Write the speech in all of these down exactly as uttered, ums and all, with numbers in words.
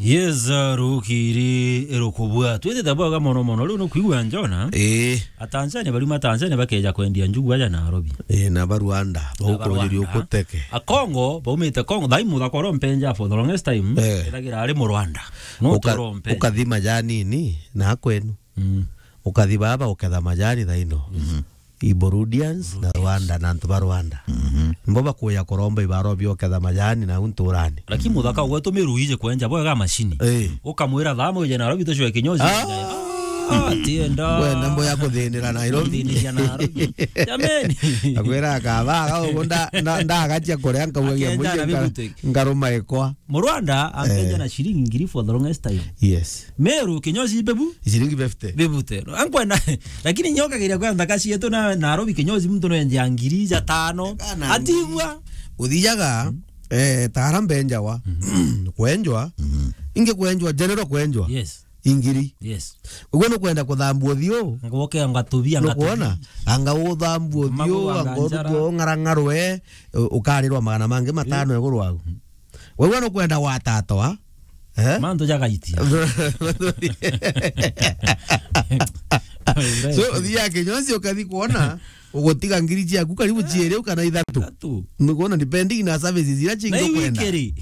Yes, uh, rukiri rukubua. Twitite bwega mono mono. Riu nukwigua Njona? Ii. Atanzania bariuma Tanzania bakeja kwendia njugu aja Nairobi. Ii, na ba Rwanda. Na ba Rwanda. Baukuriria ukuteke. Akongo, baumite Kongo. Thai muthaka uria umpenja for the longest time. Eh. Ethagira ari Murwanda. No Uka-, turo mpenja. Ukathi majanini na kwenu. Mm. Ukathi baba uketha majani thaino. Mhm. I Burundians na Rwanda na antu ba Rwanda. Mhm. Mbo bakuya kuromba ibaro bioketha majani na unturani. Lakini muthaka gwetu miru ije kwenja bwega mashini. Eh. Ukamwira thaa moja Nairobi tucwe kinyozi. Ah! Ah, tienda. Wenda mbo ya kuthinira Nairobi. Kuthinira Nairobi. Jameni. Akwira akaba, au nda, nda, ndagatia kuria nkaugagia Akienja na muingi nka-, bibuteki. Ngaruma ikwa. Murwanda ampenja Eh. na shilingi ngiri for the longest time. Yes. Meru kinyozi bebu? Shilingi fifty. Bebute. Ankwenda, lakini nyokagiria kwa ndaka cietu na Nairobi kinyozi muntu no enja ngiri ja tano. Kana Atigua. Uthijaga, eh, tara mbenjawa. Kwenjwa. Mhm. Ingi kwenjwa, general kwenjwa. Yes. Ingiri. Yes. Uguo nukwenda kuthambua uthiu? Ngoke ngatubia, Nukwona? Ngatubia. Anga uthambua uthiu, Magu anga anga njara. Uthiu ng'arang'arwe, u-, ukarirwa magana mangi matano iguru wagu. Wewe nukwenda gwatatwa, eh? Mantu jagaitia. So, uthiaga kinyozi ukathi kuona, ugutiga ngiri ciaku karibu ciiri kana ithatu. Ithatu. Nukwona, depending na services iria cingi Na iu ukwenda. Ikiri.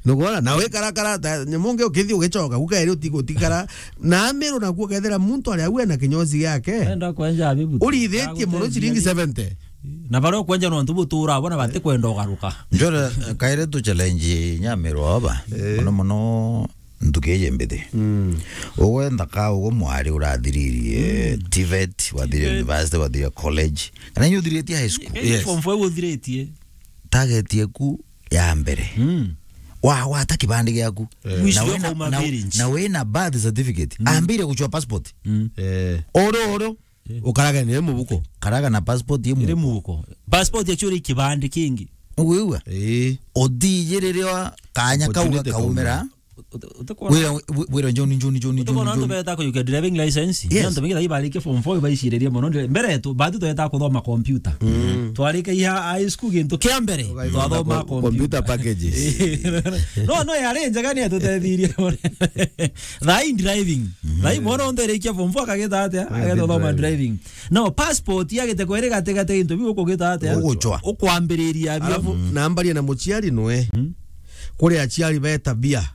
Nukwona, na wikarakara, ta, nyamu ungi ukithi ugicoka, gukairi uti-, utikara. Na amiru naku ukethira muntu aria au ena kinyozi giake. Enda kwenja abibu. Urithitie muno ciringi seventy. Na baria ukwenja nontu butura bona batikwenda ugaruka. Njore, eh, kaire tu challenge Nyamiru oba. Eh. Muno muno ntuki iji mbithi. Mm. Ugwe nthaka, ugwe mwari urathiririe Mm. TVET, wathiria T VET. University, wathiria college. Kana inya uthiritie high school. Yes. Form four uthiritie. Target yaku ya mbere. Mm. Wa, wata kibandi giaku. Eh. Wicio Na wina, ukauma na, village. Na wina birth certificate. Mm. Ambire guchwa passport. Mm. Eh. Oro, oro. Eh. Ukarage ni mubuko. Karaga na passport imu. Iri mubuko. Passport actually kibandi kingi. Ugwigua? Eh. Uthijiriria kanya kau Opportunity gakaumira. Kaumira. Uti-, uti-, utikona Wira, wi-, wira John, John, John, John, utikona antu John. Beta kuyukia driving license. Yes. Antu bengi thai barikia form four baiciririe mono. Mbere tu, batu tweta kuthoma computer. Mm. Twarika iha high school gintu kia mbere, Ugaithoma twathoma com-, computer. Computer packages. No, no, yari njega ni atutethirie. Thai driving. Mhm. Thai mwana onthe arikia form four akagita atia? Agagita Agethoma driving. Driving. No, passport yagite kweri gati gati gintu biu ukugita atia? Uguchwa. Ukwambiriria bio. Alafu, Mm. nambaria na muciari nwe. Mm. Kuri aciari be tabia.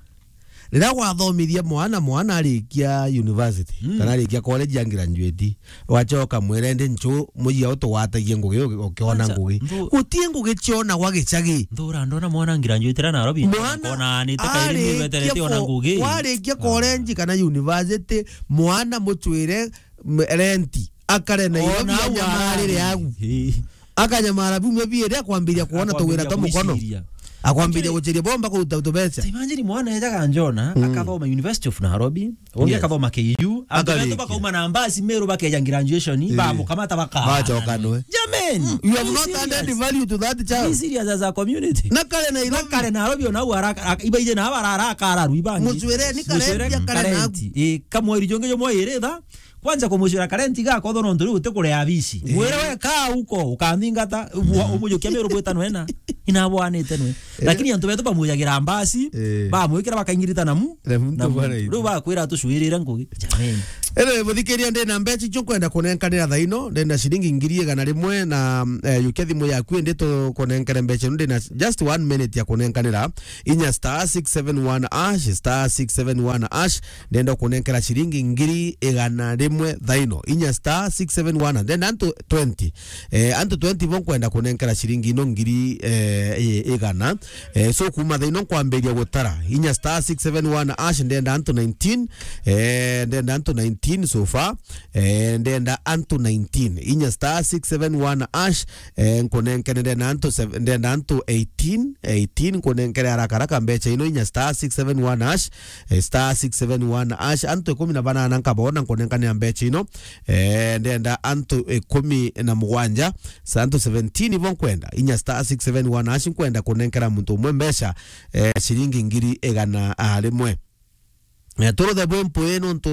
Riria wathomithia mwana, mwana arikia university, Mm. kana arikia college ya graduate, wachoka mwire ndi nchu muiya utugwatagie ngugi uki-, ukiona Acha, ngugi. Nthu- Gutie ngugi chiona gwa gicagi. Nthura ndona mwana graduate ra Nairobi, Mwana kona anite kairi ni arikia weterete ona fo-, ngugi. Warikia Ah. college kana university, mwana muchwire m-, renti, akare na Ona irobi au anyamarire arari. Agu. Ii. Akanyamara biumia biiri akwambiria kuona tuwira Akwambiria twa mukono. Gwiciria. Akwambiria Actually, guchiria bomba kuruta tubeca. Ta imagine mwana ejaga Njona, Mm. akathoma University of Nairobi, ungi Yes. akathoma K U, antu Akarikia. Betu bakauma na mbasi Meru bakeja graduation, Ii. Bamukamata baka. Bachoka nwe. Jameni, You have be not serious. Added value to that child. Be serious as a community. Na kare Nairobi. Na kare Nairobi ona au araka, araka, ibaije na aba arara akararu ibangi. Mucwire ni Mucwire karenti, akarena karenti. Ii, kamweri jongi jomwe iri tha, Kwanza kumucira karenti gakotho nontu riu utikurea bici. Eh. Mwire we kaa uko, ukanthingata, Mm. umujukia Meru bwita nwe na. Inabwanite nwe. Eh. Lakini antu betu bamujagira mbasi, Eh. bamwikira bakaingirita na mu-, Na muntu na mu-, bwana riu bakwira tucwirire ngugi. Jameni. Anyway, muthikiria ndi na mbeca icio nkwenda kunenkanira thaino, ndi na ciringi ngiri igana rimwe na, eh, yukia thimu yaku indi tukunenkere mbeca ino, ndi na just one minute ya kunenkanira. Inya star six seven one hash, star six seven one hash, ndenda kunenkera ciringi ngiri igana rimwe thaino. Inya star six seven one, ndenda antu twenty. Eh, antu twenty bo nkwenda kunenkera ciringi ino ngiri, eh, i-, igana. Eh, so kuma thaino nkwambiria gutara. Inya star six seven one hash, ndenda antu nineteen. Eh, ndenda antu nineteen so far. Eh, ndenda antu nineteen. Inya star six seven one hash, eh, nkunenkere ndenda antu sev-, ndenda antu eighteen, eighteen, nkunenkere haraka haraka mbeca ino, inya star six seven one hash, eh, star six seven one hash, antu ikumi na banana nkabona nkunenkanira mbeca ino, eh, ndenda antu ikumi na mugwanja, sa antu seventeen ibo nkwenda, inya star six seven one hash, nkwenda kunenkera muntu umwe mbeca, eh, ciringi ngiri igana rimwe. Eh, turuthe bwi mpwi nontu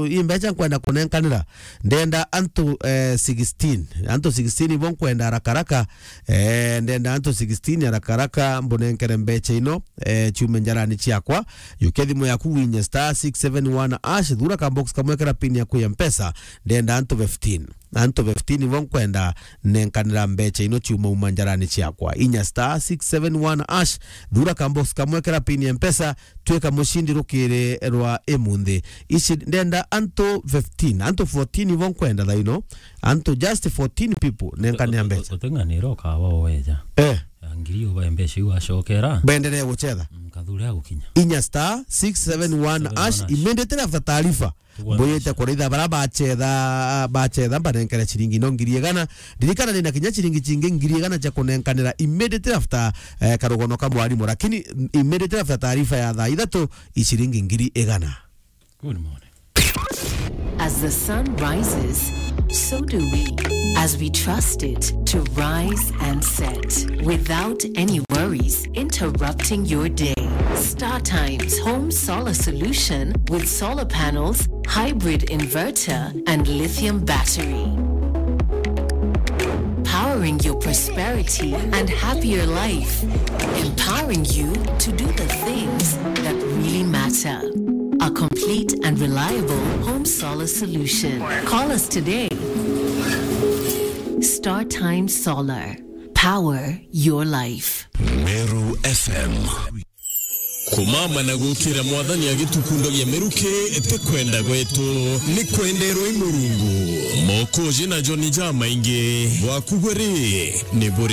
i mbeca nkwenda kunenkanira. Ndenda antu, eh, sixteen. Antu sixteen ibo nkwenda haraka haraka. Eh, ndenda antu sixteen haraka haraka mbunenkere mbeca ino, eh, ciume njarani ciakwa. Yukia thimu yaku winye star six seven one hash, thura ka box kamwe kera pin yaku ya Mpesa. Ndenda antu fifteen. Antu fifteen ibo nkwenda nenkanira mbeca ino ciuma uma njarani ciakwa. Inya star six seven one hash, thura ka box kamwe kera pin ya Mpesa, twika mucindi rukiri rwa imunthi. Ici ndenda antu fifteen, antu fourteen ibo nkwenda thaino, antu just fourteen people nenkanira mbeca. Uteng'anira ukawa weja. Eh. Ya ngiri ubae mbeca iu acokera. Benderee gucetha. Mm, kathure agukinya. Inya star six seven one hash, immediately after taarifa. Mbuyite kuritha bara bacetha, bacetha mbanenkere ciringi no ngiri igana. Ririkana nina kinya ciringi cingi ngiri igana cia kunenkanira immediately after, eh, karugono ka mwarimu, lakini immediately after taarifa ya thaa ithatu, i ciringi ngiri igana. Good morning. As the sun rises, so do we, as we trust it to rise and set without any worries interrupting your day. Star Times Home Solar Solution with solar panels, hybrid inverter, and lithium battery. Powering your prosperity and happier life. Empowering you to do the things that really matter. A complete and reliable home solar solution. Call us today. Star Times Solar. Power your life. Meru F M. Kumama na gukira Mwathani agitukundagia miruki ti kwenda gwetu, ni kwenderwa i Murungu. Mokoji na John jamaingi bwaku buri ni buri